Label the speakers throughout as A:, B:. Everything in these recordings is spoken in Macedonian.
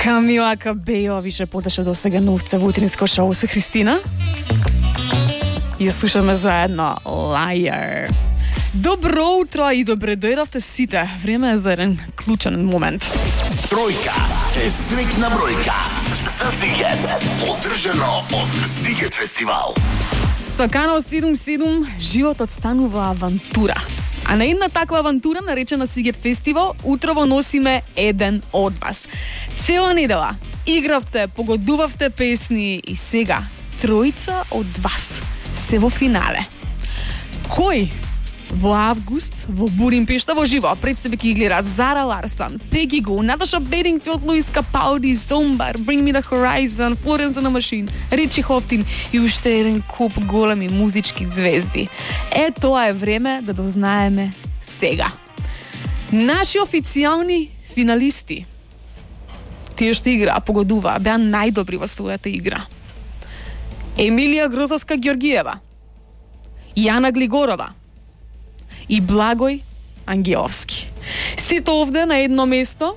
A: Камила Кабејова више потеше до сега новца во утринско шоу со Христина. И ја слушаме заедно Liar. Добро утро и добре дојдовте сите. Време е за еден клучен момент.
B: Тројка е стрикна бројка за Зигет. Поддржано од Зигет фестивал.
A: Со Канал 77 животот станува авантура. А на една таква авантура, наречена Сигет фестивал, утрово носиме еден од вас. Цела недела игравте, погодувавте песни и сега тројца од вас се во финале. Кој во август во Будимпешта во живо пред себе ќе гледат Зара Ларсон, Пеги Го, Наташа Бедингфилд, Луис Капалди, Зомбар, Bring Me The Horizon, Florence and the Machine, Ричи Хофтин и уште еден куп големи музички звезди. Тоа е време да дознаеме сега. Наши официјални финалисти, тие што играа, погодуваа, беа најдобри во својата игра. Емилија Грозовска Ѓоргиева, Јана Глигорова и Благој Ангеловски. Сите овде на едно место,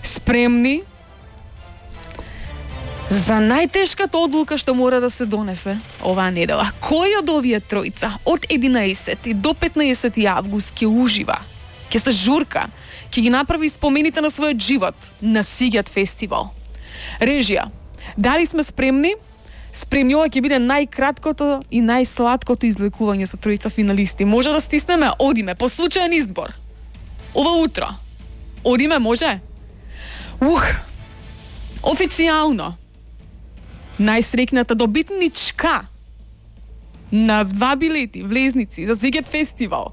A: спремни за најтешката одлука што мора да се донесе оваа недела. Кој од овие тројца од 11 до 15 август ќе ужива, ќе се журка, ќе ги направи спомените на својот живот на Сигет фестивал? Режија, дали сме спремни? Спремни, ова ќе биде најкраткото и најсладкото излекување со тројца финалисти. Може да стиснеме, одиме, по случаен избор. Ова утро. Одиме, може? Официјално. Најсрекната добитничка на 2 билети, влезници за Сигет фестивал.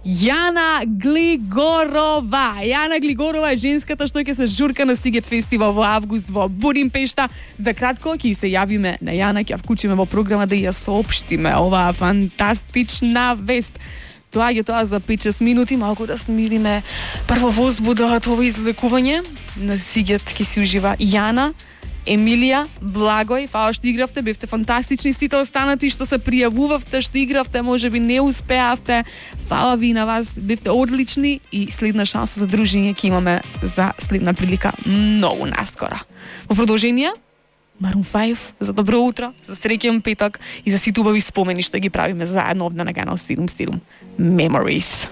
A: Јана Глигорова. Јана Глигорова е женската што ќе се журка на Сигет фестивал во август во Будимпешта. За кратко ќе се јавиме на Јана, ќе ја вклучиме во програма да ја соопштиме оваа фантастична вест. Тоа за 5-6 минути, малку да смириме прво возбуда од ова излекување. На Сигет ќе си ужива Јана, Емилија, Благој, фала што игравте, бевте фантастични, сите останати што се пријавувавте, што игравте, можеби не успеавте, фала ви на вас, бевте одлични и следна шанса за дружење ќе имаме за следна прилика многу наскоро. Во продолжение, Maroon 5, за добро утро, за среќен петок и за сите убави спомени што ги правиме заедно овде на Канал 77. Memories.